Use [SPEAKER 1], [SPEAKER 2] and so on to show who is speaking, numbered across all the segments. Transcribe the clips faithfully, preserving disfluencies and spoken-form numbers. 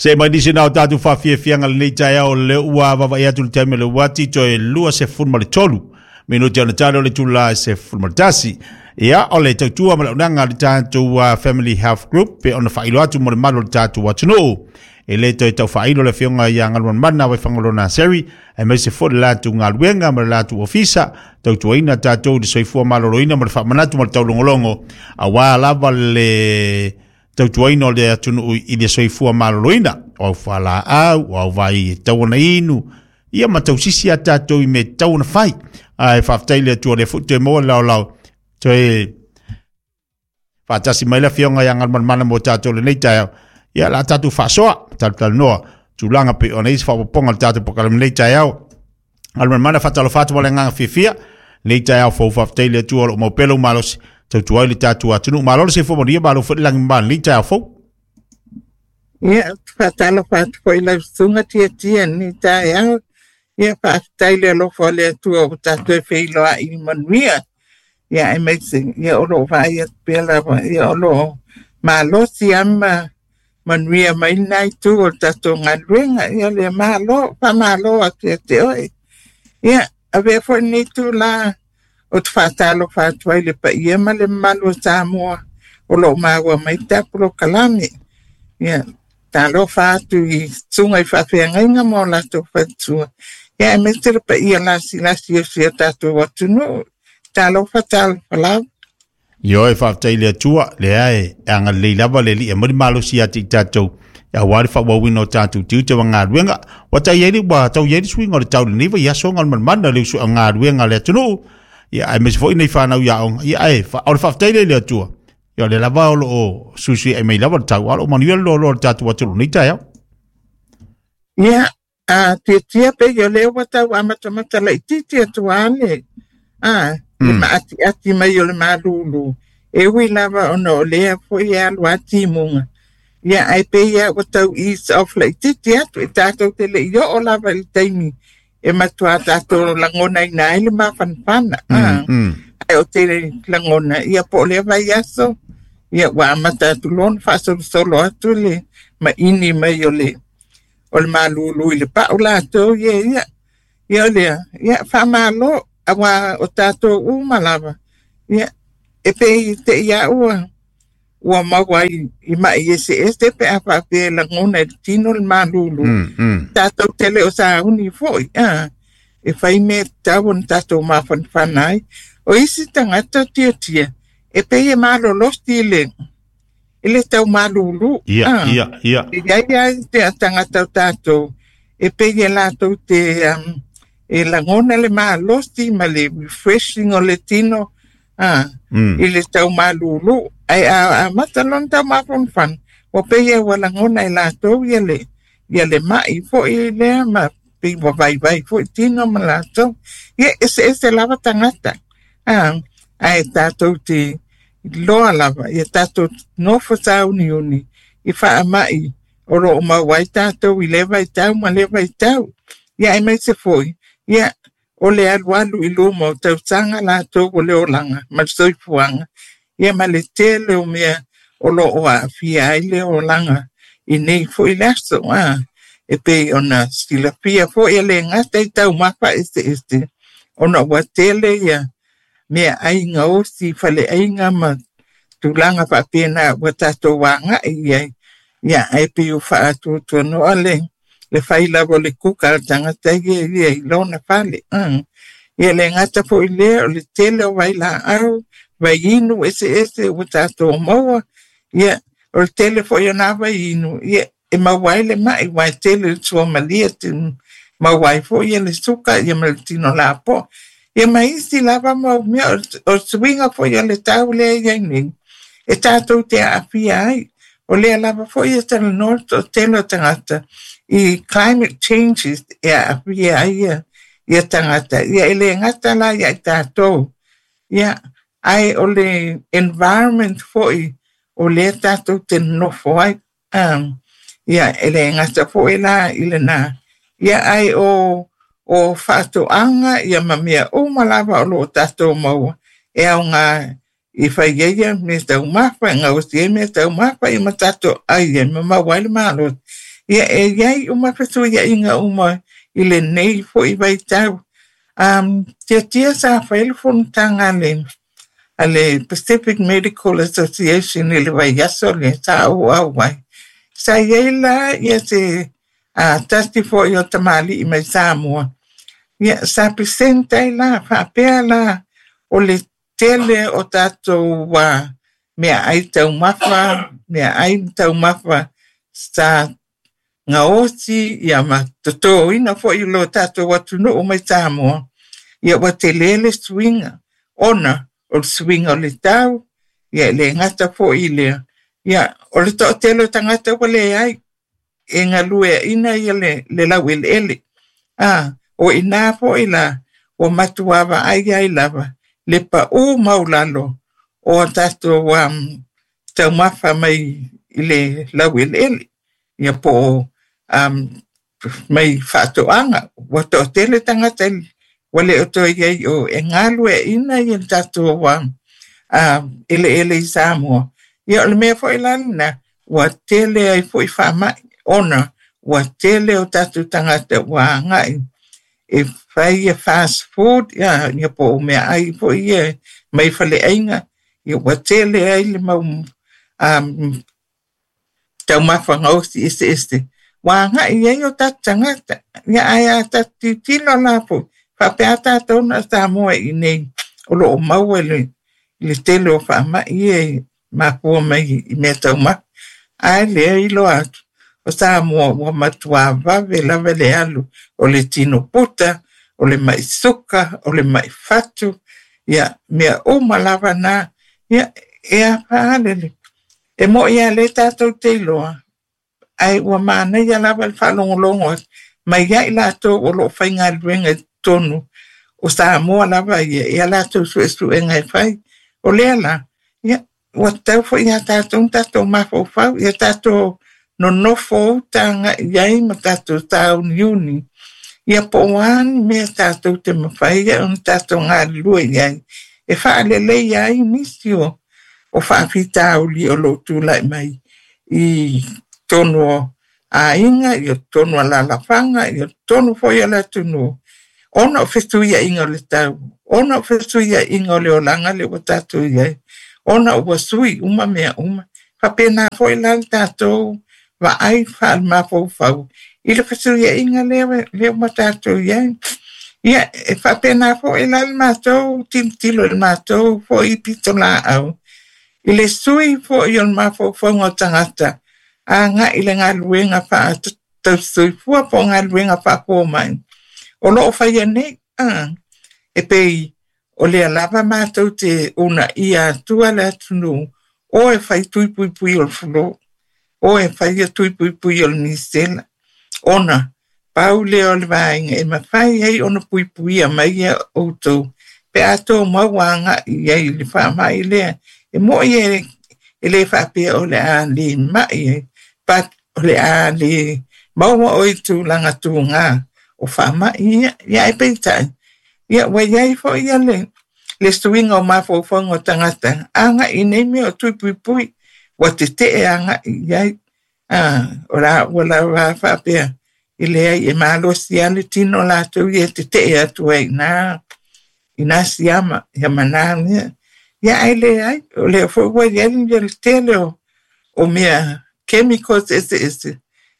[SPEAKER 1] Se mai nisi na o tātou whawhiawhianga le nei taeao le ua vava i atu le taimi le wati toe lua se fulu ma le tolu. Minuti ona talo le tula se fulu ma le tasi. Ia, o le tautua ma le unanga le tātou uh, Family Health Group pe ona whailo atu mo le malu le tātou atunuu. E le toe tau whailo le whionga ia ngaluan mana wai whangalona seri e mai se fo le lātou ngaluenga ma le lātou ofisa tautuaina tātou le soifua maloloina ma le whaamanatu ma le taulongolongo a wā lava le tautuaina o le atunuu i le soifua maloloina o au whala au, o au vai e tauana inu ia ma tausisi a tātou i me tauana whai a e whaftai le atua le futu e moa lao lao toe whaatasi mai le whionga ia ngaluan mana mo tātou le nei taeao. Ia la tātou whaasoa, tātou noa, tūlanga pe ona isi whaapaponga le tātou pakalame nei taeao. Ngaluan mana whatalo whatu wale nganga whiwhia, nei taeao fau whaftai le atua lo maupelo malosi, tautuai le tātou atunu. Malolo se fo monia, malo fo langi mbana nei taeao fau.
[SPEAKER 2] Ia, whatalo whatu foi lau sunga tia tia nei taeao. Ia, whaftai le alofa le atua o tātou e whiiloa i manuia. Ia, e meise, ia olo vai pela, ia olo malosi ama manuia mai nai tu o tātou ngaluenga, ia le malo, pa malo atu e te oe. Ia, avea foi nei tu la o te whātalo whātuai le paia ma le malu o Samoa o lo maua mai tapulo kalame. Ia, tālo whātu i tunga i whawheangainga mō lātou whatua. Ia, e mese le paia lasi lasi o sia tātou atunu. Tālo whātalo whalau.
[SPEAKER 1] Io e whaftai le atua, le ae, anga le lava le li, e muri malosi ati i tātou, ia wari whawawina o tātou tiute wa ngā ruenga, wa tai eri, wa tau ieri suinga o le tau le niwa, ia songa o le manmana le usu a ngā ruenga le atunuu, ia e mesi foi nei whanau ia onga, ia e, o le whaftai le le atua, ia le lava o lo o susi e mei lava le tau, alo manuia lo lo le tātou atulu nei taeao.
[SPEAKER 2] Ia, a tia tia pe ia leo wa tau amatamata la iti atua ale, a, le maati ati mai o le malulu. E ui lava ona o lea foi e alu ati munga. Ia ai pe ia o tau ease off la iti atu e tātou te le i o lava i taimi. E matua tātou langona ina ai le mafanfana. Mm, mm. Ai o te langona. Ia po lea vai aso. Ia wa amata atu lona whaasolosolo atu le maini mai o le o le malulu i le pau lātou. Ia ia. Ia o lea. Ia whamalo. Awa o tātou uma lava. Ia, e pe i te ia ua, ua maua i, i mai ese ese pe a whapea langona i tino le malulu.
[SPEAKER 1] Mm, mm.
[SPEAKER 2] Tātou tele o sauni foi. Ah, e whai me tau on tātou mawhanwhanai. O isi tangata tia tia. E pe e malolosti i le, i le tau malulu.
[SPEAKER 1] Ia, ah, ia, ia.
[SPEAKER 2] Ia ia te tangata o tātou. E pe e lātou te... Um, e langona le malosi ma le refreshing o le tino ah,
[SPEAKER 1] mm.
[SPEAKER 2] i le tau malulu. Ai a, a matalon tau mafonfan. O pe ia wa langona e lātou ia le, ia le mai foi lea ma pe wa vai vai foi tino ma lātou. Ia ese ese lava tangata. Ah, ai tātou te loa lava. Ia tātou nofo sauni uni i wha mai o ro o mauai tātou i le vai tau ma le vai tau. Ia e mai se foi. Ia, o le alu alu i luma o tausanga lātou o le olanga, ma le soifuanga. Ia ma le tele o mea o lo o aafia ai le olanga i nei foi le aso. Ah, e pei ona silafia foi e le ngata i tau mapa ese ese. Ona ua tele ia mea ainga osi fale ainga ma tulaga faapena ua tātou wāngai ia. Ia, ai pei o whaatuatua noa le. Le whai lava le kuka al tangata ia ia i lona fale. Mm. Ia le ngata foi lea o le tele o vai la au, vai inu ese ese o tātou maua. Ia o le tele foi o nā vai inu. Ia e mauai le mai wai tele le tua malia te mauai foi ia le suka ia ma le tino lapo. Ia mai isi lava mau mea o suinga foi o le tau lea ia nei. E tātou te aafia ai. O lea lava foi e tala noa o tele o tangata. I climate changes ia ia ia ia tangata ia ele ngata la ia tātou ia ai o le environment foi o le tātou te nofo ai um, ia ele ngata foi la i le nā ia ai o o whaatoanga ia ma mea uma lava o lo tātou maua e au ngā i whai ia me tau mafa ngā osi e me tau mafa i ma tātou ai e ma maua i le malo. Ia e iai uma fesuiaiga uma i lenei fo'i vaitau. Um, tiatia sa fai le fonotaga a le a le Pacific Medical Association i le vaiaso lea sa ou auai. Sa iai la ia se a tasi fo'i o tamalii mai Samoa. Ia sa present ai la faapea la o le tele o tatou uh, meaai taumafa, meaai taumafa sa gaosi ia ma totoina fo'i lo tatou atunuu mai Samoa. Ia ua tele le suiga ona o le suiga o le tau, ia e le gata fo'i lea. Ia o le to'atele o tagata ua leai e galueaina ia le, le laueleele. Ah, o ina fo'i la ua matuā vaai ai lava le pa'ū maulalo o a tatou um, taumafa mai i le laueleele. Ia po o um, mai faatoaga ua to'atele tagata ua le o toe iai o e galueaina ia le tatou um, uh, eleele i Samoa. Ia o le mea fo'i la lena ua tele ai fo'i faama'i ona ua tele o tatou tagata ua agai e fai ia fast food ia, ia po o meaai fo'i ia mai faleaiga ia ua tele ai le mau um, taumafa gaosi eseese ua agai ai o tatou tagata. Ia ae a tatou tilotilo la fo'i faapea tatou na Samoa i nei o loo maua le le tele o faama'i ia e mafua mai i mea taumafa. Ae lea iloa atu o Samoa ua matuā vave lava le alu o le tino puta, o le ma'i suka, o le ma'i fatu, ia mea uma lava na. Ia e a le e mo'i a le tatou te iloa ae ua manaia lava le faalogologo atu mai ai latou o loo faigaluega i totonu o Samoa lava ia ia latou suesuega e fai. O lea la ia ua tatau foi ia tatou tatou mafaufau ia tatou nonofo uta agai ai ma tatou sauniuni. Ia po o a ni mea tatou te mafai ona tatou galulue i ai e faaleleia ai nisi o o faafitauli o loo tulai mai i totonu o aiga, ia totonu o alalafaga, ia totonu foi o le atunuu ona o fesuiaiga o le tau, ona o fesuiaiga o le olaga le ua tatou iai, ona ua sui uma mea uma. Faapena foi la le tatou vaai faalemafaufau i le fesuiaiga lea lea ua tatou iai. Ia e faapena foi la le matou tilotilo i le matou foi pitolaau i le sui fo'i o le mafaufauga o tagata agai i le galuega faatausisoifua po o galuega faafomai o loo faia nei. Ah, e pei o lea lava matou te uunaia atua le atunuu o e fai tui puipui o le flu, o e fai ia tui puipui o le misela, ona pau lea o le vaega e mafai ai ona puipuia mai ia outou pe a tou maua agai i ai i le faama'i lea. E mo'i e e le faapea o le a le ma'i ai, but o le a le maua o i tulaga tugā o faama'i ia. Ia ae peitai ia ua iai fo'i ia le le suiga o mafaufauga o tagata agai nei mea o tui puipui ua tetee agai i ai. Ah, o la ua lava faapea e leai e malosi a le tino latou ia e tetee atu ai ina ina siama ia ma na mea. Ia ae leai o lea foi ua iai ia le tele o o mea chemicals eseese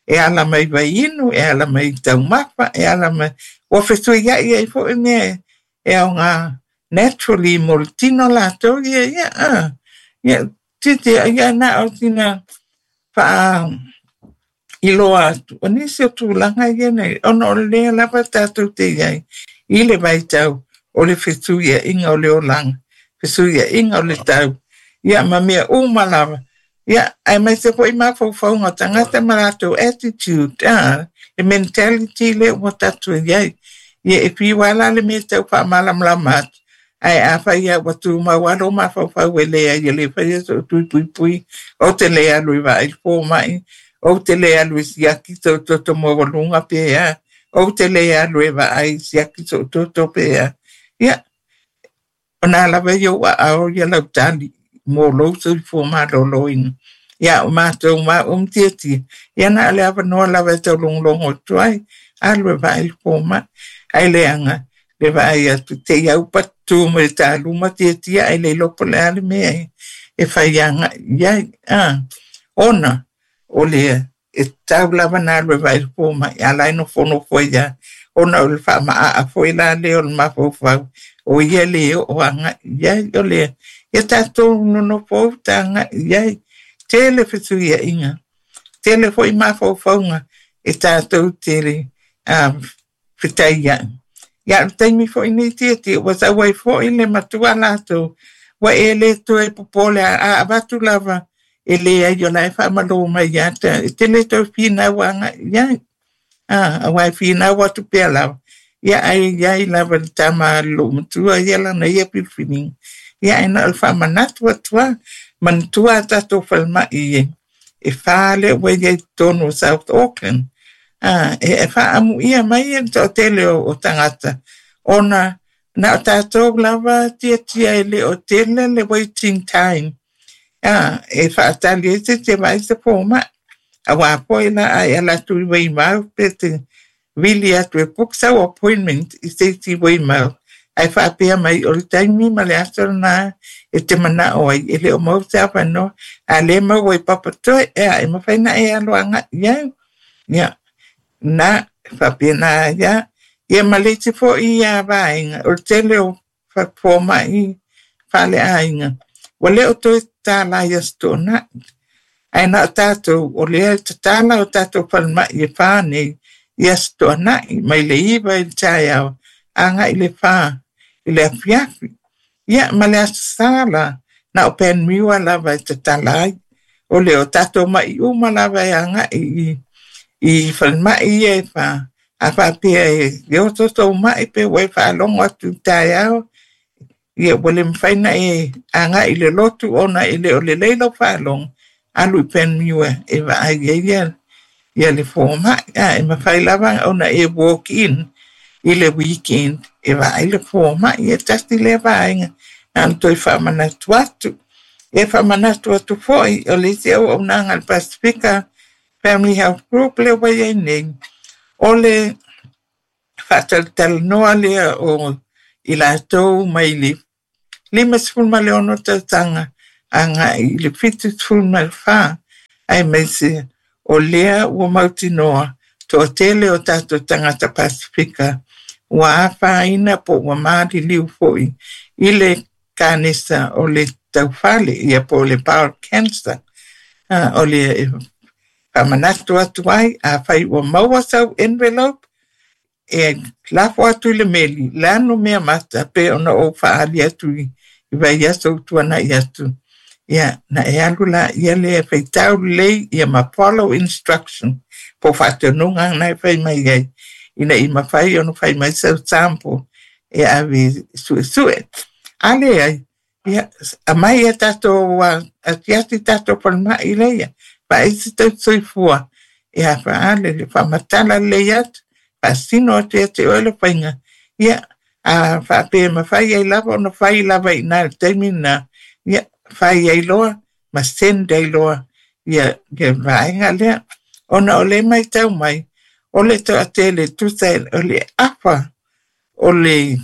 [SPEAKER 2] e ala mai vaiinu, e ala mai taumafa, e ala mai ua fesuiai ai foi mea e aoga naturally mo le tino latou ia ia ah. Ia titi ia na o sina faa iloa atu o nisi o tulaga ia nei ona o lea lava tatou te iai i le vaitau o le fesuiaiga o le olaga, fesuiaiga o le tau, ia ma mea uma lava. Ia aemaise foi mafaufauga o tagata ma latou attitude, ah, le mentality lea ua tatou iai. Ia e fiu lava la le mea tau faamalamalama atu ae afai lava ua tumau lava lou mafaufau e leai e le faia sou tui puipui, ou te le alu e vaai le fomai, ou te le alu e siaki sou toto maualuga pe a, ou te le alu e vaai siaki sou toto pe a. Ia ona lava ia ou aao ia lau tali mo lou soifua maloloina. Ia o mātou ma o mtiatia. Ia na ale avanoa lava e taulogologo atu ai, alu e vaai le fomai. Ai leaga le vaai atu te i au patu ma le taluma tiatia ai le iloa po o le a le mea e fai agai i ai. Ah, ona o le e tatau lava na alu e vaai le fomai, a la e nofonofo ai lava, ona o le faamaaa foi la lea o le mafaufau, o ia le oo agai i ai. O lea, ia tatou nonofo uta agai i ai. Tele fesuiaiga, tele foi mafaufauga e tatou te uh, fetaiai. Ia o le taimi foi nei tiatia, ua sau ai foi le matua latou, ua e le toe popole a avatu lava e leai o la e faamalō mai ia te e te le toe finau agai i ai. Ah, aua e finau atu pea lava. Ia ai iai lava le tama a lou matua ia lana ia filifiliga. Ia e na o le faamanatu atu lava, manatua a tatou falemai e, e wha lea ua iai totonu o South Auckland. Ah, e, e faamuia mai e le toatele o, o tagata, ona na o tatou lava tiatia e le o tele le waiting time. Ah, e faatali ai se te vaai se fomai. Auā foi la ai ala atu i Weymouth pe te vili atu e book sau appointment i se isi Weymouth. Ae faapea mai o le taimi ma le aso lena e te manao ai e le o mau se avanoa. A le maua i Papatoe, ea e mafai na e alo agai i ai. Ia, na faapena ia. Ia ma le isi foi ia vaega, o le tele o fomai faaleaiga. Ua le o toe tatala i Aso Toonai. Ae na o tatou, o lea e tatala o tatou falemai e wha nei i Aso Toonai, mai le iva i le taeao, agai le wha i le afiafi. Ia, ma le Aso Sa la, na o Panmure lava e tatala ai. O le o tatou mai uma lava e agai i, i falemai ia e wha. A faapea e le oso sou mai pe ua e faalogo atu i taeao, ia ua le mafai na e agai i le lotu ona e le o lelei lau faalogo, alu i Panmure e vaai ai ia, ia le fomai. A, e mafai lava ona e walk in i le weekend e vaai le fomai. E tasi lea vaega na ona toe faamanatu atu. E faamanatu atu foi o le isi auaunaga a le Pasifika Family Health Group lea ua iai nei, o le faatalatalanoa lea o i latou mai le limasefulu ma le ono tausaga agai i le fitusefulu ma le fa, aemaise o lea ua mautinoa toatele o tatou tagata Pasifika ua afaina po ua maliliu foi i le kanesa o le taufale, ia po o le bowel cancer. Ah, o le e faamanatu atu ai, afai ua maua sau envelope, e lafo atu i le meli, le anu mea mata pe ona ou faaali atu i, i vaiaso ua tuanai atu. Ia, na e alu la ia lea faitau lelei ia ma follow instruction po faatonuga na e fai mai ai, ina i mafai ona fai mai sau sample e ave suesue. A leai, ia, aumai a tatou atiati tatou falemai lea, vaai se tausisoifua e afaale le faamatala lelei atu, faasino atu ia te oe le faiga. Ia, a faapea e mafai ai lava ona fai lava i ina i le taimi lena, ia, fai ai loa ma send ai loa ia, ia vaega lea. Ona o le matau mai, o le toatele tusa o le afa o le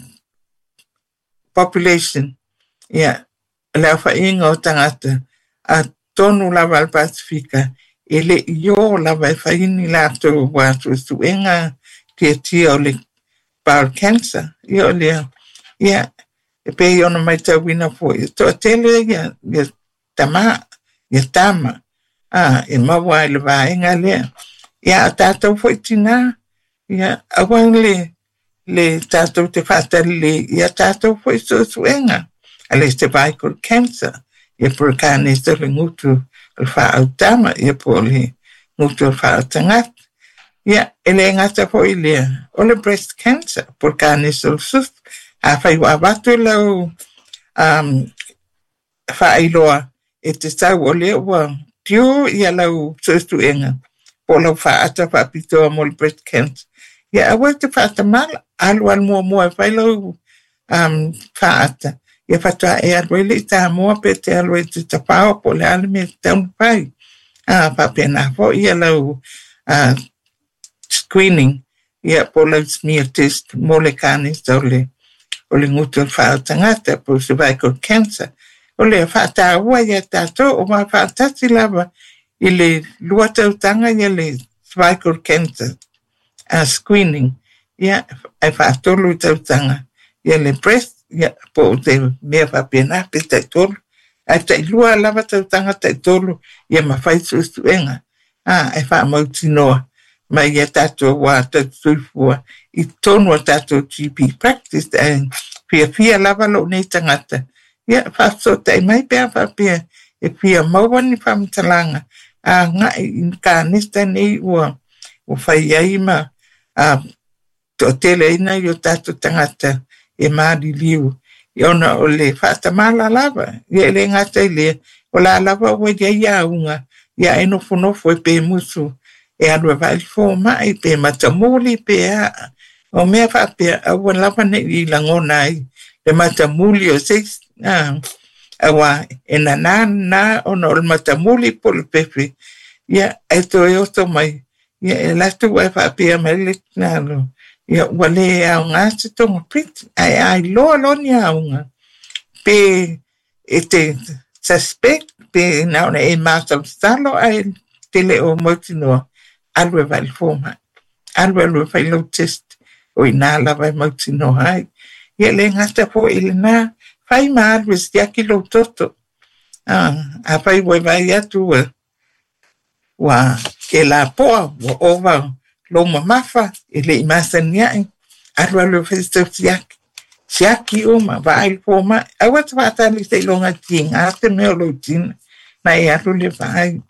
[SPEAKER 2] population, ia, le aofaiga o tagata a tonu lava a le Pasifika, e le i o lava e fai ni latou suesuega tiatia o le bowel cancer. Ia o lea, ia, e pei ona matauina foi, e toatele ia, ia tamā, ia tama, a, e maua ai le vaega lea. Ia, a tatou foi tinā, ia, aua le, le tatou te faatalelei ia tatou foi suesuega a le cervical cancer, ia po o le kanesa o le gutu o le faaautama, ia po o le gutu o le faautagata. Ia, e le gata foi lea, o le breast cancer, po o le kanesa o le susu. Afai ua avatu lau um, faailoa e te sau o lea ua due ia lau suesuega po o lau faata faapitoa mo le breast cancer. Ia aua e te faatamala, alu alu muamua e fai lau um, faata. Ia faatoa e alu ai le i Samoa pe te alu ai i te tafao po o le a le mea e tatau ona fai. A faapena fo'i ia lau uh, screening ia po lau smear test mo le kanesa o le o le gutu o le faaotagata po o cervical cancer. O le faataua ia tatou o ma faatasi lava i le lua tautaga ia le cervical cancer uh, screening ia ae faatolu tautaga ia le breast ia po o te mea faapena pe taitolu ae tailua lava tautaga taitolu ia mafai suesuega a e faamautinoa mai ia tatou ua tautusoifua i totonu o tatou G P practice ae fiafia lava lou nei tagata ia faafesootai mai pe a faapea e fia maua ni faamatalaga aga'i i kanesa nei ua ua fai ai ma a to'ateleina i o tatou tagata e maliliu ona o le faatamala lava ia e le gata i lea o la lava ua iai auga ia e nofonofo e pe musu e alu e vaai le foma'i pe matamuli pe a o mea faapea aua lava ne'i lagona ai le matamuli o se isi auā e nanā lena ona o le matamuli po o le pepe ia ae toe oso mai ia e alu atu ae faapea mai le tinā ia ua lē aogā se togafiti ae a iloa loa ni auga pe e te suspect pe na ona e masalosalo ae te le o mautinoa alu e vaai le foma'i alu alu e fai lau test o inā lava e mautinoa ai ia le gata fo'i lenā fai ma alu e siaki lou toto a fai ua e vaai atu ua ua e lapoa ua ova lou mamafa e le'i masani a'i alu alu e fai sau siaki siaki uma vaai le foma'i aua te faatali seiloga tigā se mea o lou tina na e alu le vaai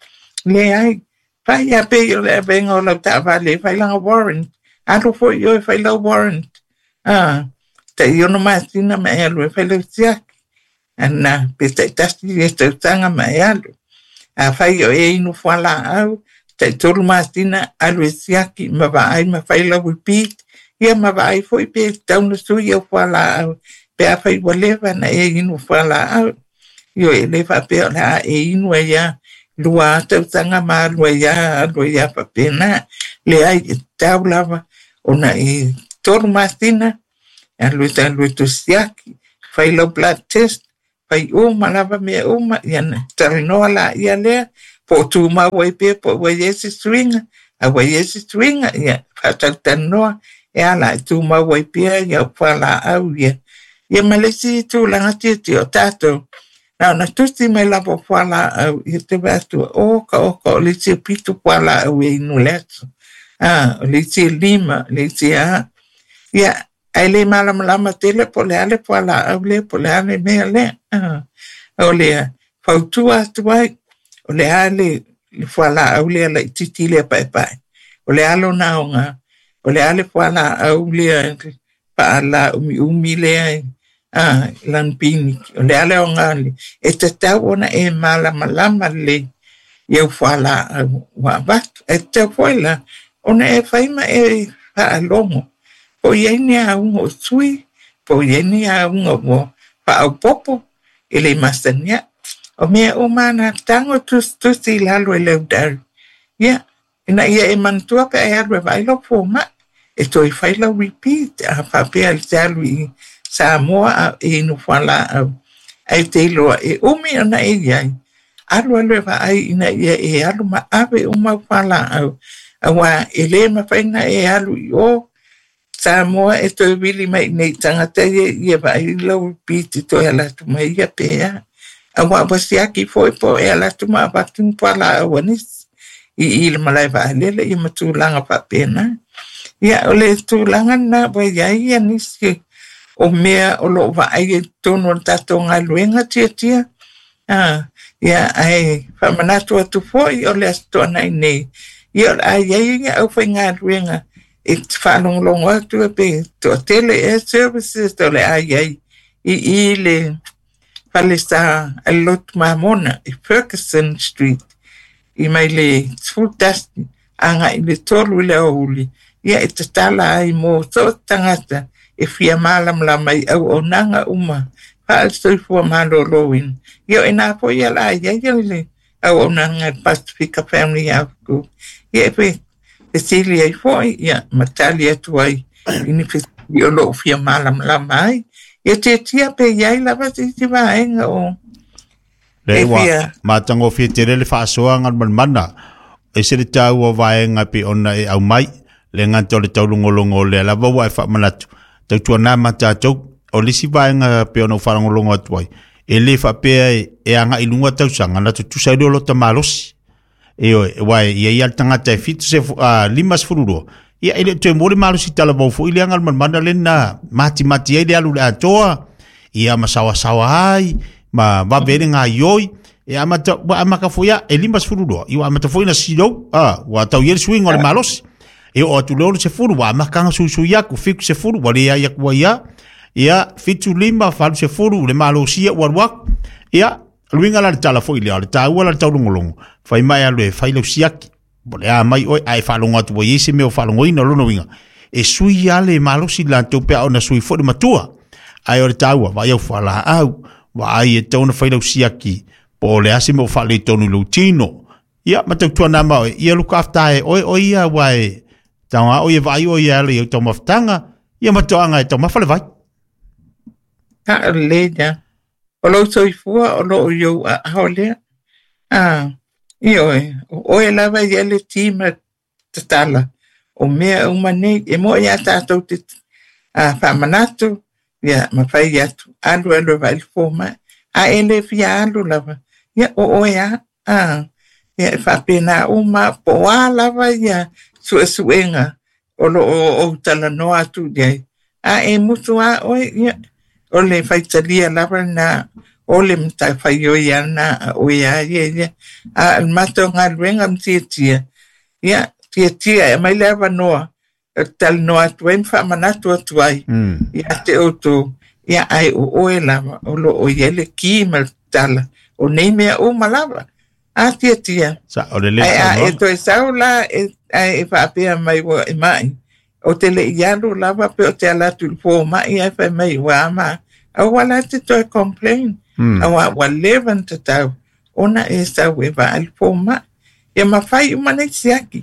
[SPEAKER 2] leai fai a pei o le avega o lau taavale e fai laga warrant alu fo'i oe fai lau warrant a ta'i ono masina ma e alu e fai lau siaki ana pe ta'itasi ia tausaga ma e alu a fai o e inu fualaau ta'itolu masina alu e siaki ma vaai ma fai lau repeat ia ma vaai fo'i pe tatau ona sui au fualaau pe a fai ua leva na e inu fualaau ioe e lē faapea o le a e inu ai a lua tausaga ma alu ai a alu ai a faapena leai e tatau lava ona e tolu masina alu e alu e toe siaki fai lau blood test fai uma lava mea uma ia na talanoa laia lea po o tumau ai pea po o ua iai se suiga a ua iai se suiga ia faatalatalanoa e ala e tumau ai pea ia fualaau ia ia ma le isi tulaga tiatia o tatou na ona tusi mai lava o fualaau ia te vaai atu oka oka o le isi e fitu fualaau e inu le aso a o le isi e lima le isi a ia ae lē malamalama tele po o le a le fualaau lea po o le a le mea lea o le fautua atu ai o le a le le fualaau lea laitiiti lea paepae o le a lona aoga o le a le fualaau lea faalaumiumi lea a lanipiniki o le a le aoga e tatau ona e malamalama lelei i au fualaau ua avatu ae tatau foi la ona e fai ma e faalogo po o iai ni auga o sui po o iai ni auga ua faaopopo e le masani a'i o mea uma na tago tusitusi i lalo e lau diary ia ina ia e manatua pe a e alu e vaai lau foma'i e toe fai lau repeat a faapea e te alu i Samoa a e inu fualaau ae te iloa e umi ona e iai alu alu e vaai ina ia e alu ma ave uma au fualaau auā e lē mafai ona e alu i o Samoa e toe vili mai nei tagata ia ia vaai lau repeat e toe ala atu mai ia pe a auā ua siaki foi po o e ala atu ma avatu ni fualaau a nisi i i le malae vaalele ia ma tulaga faapena ia o le tulaga lena ua iai ia nisi o mea o loo vaai ai totonu o le tatou galuega tiatia a ia ae faamanatu atu fo'i o le Aso Toonai nei ia o le a iai ia aufaigaluega e faalogologo atu e pe toatele ea services o le a iai i i le falesa a le Lotu Mamona i Ferguson Street i mai le sefulu tasi aga'i le tolu i le aoauli ia e tatala ai mo so o se tagata e fia malamalama i auaunaga uma faale-soifua malōlōina ia o inā foi ia la iai le Auaunaga Pasifika Family Health Group. Ia e fesili ai fo'i, ia ma tali atu ai i ni fesili o lo'o fia malamalama ai. Ia tiatia pe iai lava se isi vaega o
[SPEAKER 1] Le
[SPEAKER 2] e
[SPEAKER 1] ua
[SPEAKER 2] fia
[SPEAKER 1] matagofie tele le faasoaga le malemana e se le taua vaega pe ona e aumai le gata o le taulogologo o lea lava ua e faamanatu tautuanā ma tatou o le isi vaega pe ona ou faalogologo atu ai e lē faapea e, e agaʻi luga tausaga na tutusa ai lea o lota malosi e oe uae ia ia le tagata e fitu se uh, lima sefulu lua ia e le toe mo le malosi talavou foʻi leaga le malemana lena matimati ai le alu le atoa ia ma saoasaoa ai ma vave le gaioi e amata ua amaka foʻi a e lima sefulu lua ia ua amata foʻi na silou a ua tau ia le suiga o le malosi e oo atu le ono sefulu ua amakaga suisui aku fitu sefulu ua leai aku ai a ia fitu lima falu sefulu le malosia ua alu aku ia luiga la le tala foʻi lea o le taua la le taulogologo fai mai alu e fai lau siaki po le a mai oe ae faalogo atu ua iai se mea o faalogoina o lona uiga e sui a le malosi latou pe a ona sui foʻi le matua ae o le taua vaai au fualaau vaai e tau ona fai lau siaki po o le a se mea o faaletonu i lou tino ia ma tautuana ma oe ia luka afta e oe o ia ua e taoga o ia vaai o ia ale i au taumafataga ia ma toaga e taumafa le vai.
[SPEAKER 2] Haʻalelei ia. O lou soifua o loo i ou aao lea. A, ioe, o oe lava ia le tima tatala. O mea uma nei, e moe ia tātou te a, faamanatu, ia ma fai atu, alu alu e vaai le fomai. A e le fia alu lava, ia o oe a, a, ia e faapena uma, po o a lava ia suesuega o loo ou talanoa atu i ai. A e mutu a oe, ia, o le faitalia lava na o le matafaioi ana a oe a ia ia. A o le matou galuega ma tiatia, ia, tiatia e aumai le avanoa e talanoa atu ai ma faamanatu atu ai
[SPEAKER 1] Mm.
[SPEAKER 2] ia te outou, ia ae o oe lava o loo i ai le ki ma le tatala o nei mea uma lava. A tiatia.
[SPEAKER 1] Sa o le le
[SPEAKER 2] Ae a e
[SPEAKER 1] saunoaga.
[SPEAKER 2] toe sau la e, ae e faapea mai ua e mai. O te le i alu lava pe o te ala atu i le fomai ae fai mai ua ama. Aua la te toe complain.
[SPEAKER 1] Mm.
[SPEAKER 2] Aua ua leva ona tatau ona e sau e vaai le fomai. Ia ma fai uma nei siaki.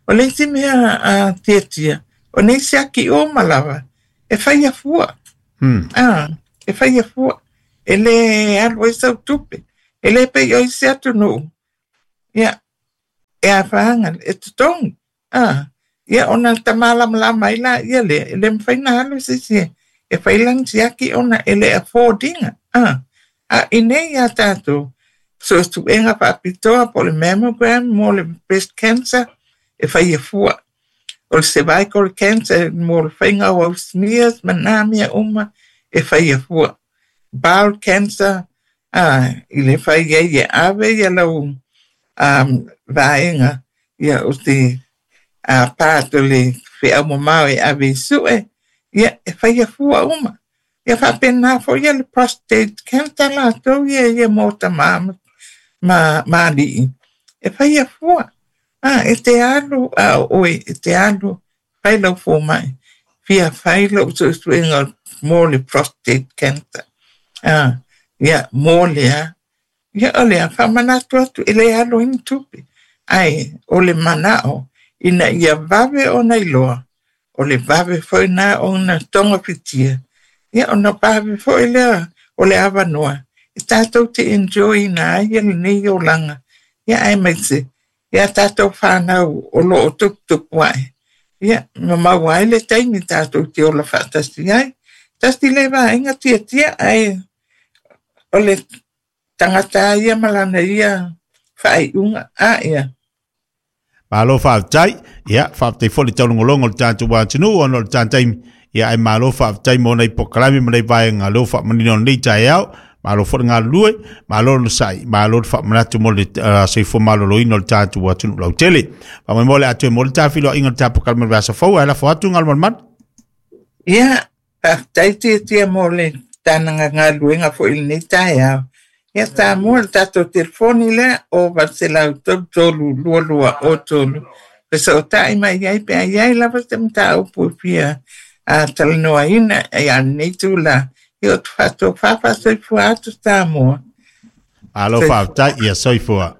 [SPEAKER 2] O le isi mea a tiatia, o nei siaki uma lava, e fai afua.
[SPEAKER 1] Mm.
[SPEAKER 2] Ah, e fai afua. E le alu ai sau tupe. E le pei o isi atunuu. Ia, e afaga, e totogi. Ah, ia ona tamalamalama ai la ia lea, e le mafai ona alu se isi e fai lana siaki ona e le afford ina. Ah, a i nei ia tātou, suesuega faapitoa po o le mammogram mo le breast cancer, e fai afua. O le cervical cancer mo le faiga o au smears ma nā mea uma, e fai afua. Bowel cancer, ah, i le fai ai e ave ia lau um, vaega, ia o te a part o le feau mamao e ave i sue, ia e fai afua uma. Ia faapena foʻi ia le prostate cancer latou ia ia mo tamā ma, ma, ma alii. E fai afua. A, e te alu a o oe, e te alu, fai lau fomai. Fia fai lou suesuega mo le prostate cancer. A, ia, mo lea. Ia o lea, faamanatu atu e le alu ai ni tupe. Ae, o le manao, ina ia vave ona iloa, o le vave foi na ona togafitia. Ia ona vave foi lea o le avanoa. E tātou te enjoy ina ai ia lenei olaga. Ia aemaise, ia tātou whānau o loo tuputupu ae. Ia, ma maua ai le taimi tātou te ola faatasi ai. Tasi le vaega tiatia ae o le tagata ia ma lana ia faaiuga a ia.
[SPEAKER 1] Malo faafetai ia faafetai foi le taulogologo o le tatou atunuu ona o le tatou ia ae malo faafetai mo nei polokalame ma nei vaega leo faamanino nei taeao malo foi le galulue malo le sai malo le faamanatu mo le uh, soifua maloloina o le tatou atunuu lautele faamoemoe le atoe mo le tafiloaiga o le tapokale le aso fou ae lafo atu galumalemana.
[SPEAKER 2] Ia, faafetai tiatia mo le tanaga galuega foʻi lenei taeao. Ia Samoa le tatou telefoni lea o valu selau tolu tolu lua lua o tolu. Fesootaʻi mai ai pe a iai lava se mataupu e fia a talanoaina ia lenei tula. Ia o te faatofā faasoifua atu Samoa.
[SPEAKER 1] Malo
[SPEAKER 2] Soifua.
[SPEAKER 1] faafetai ia soifua.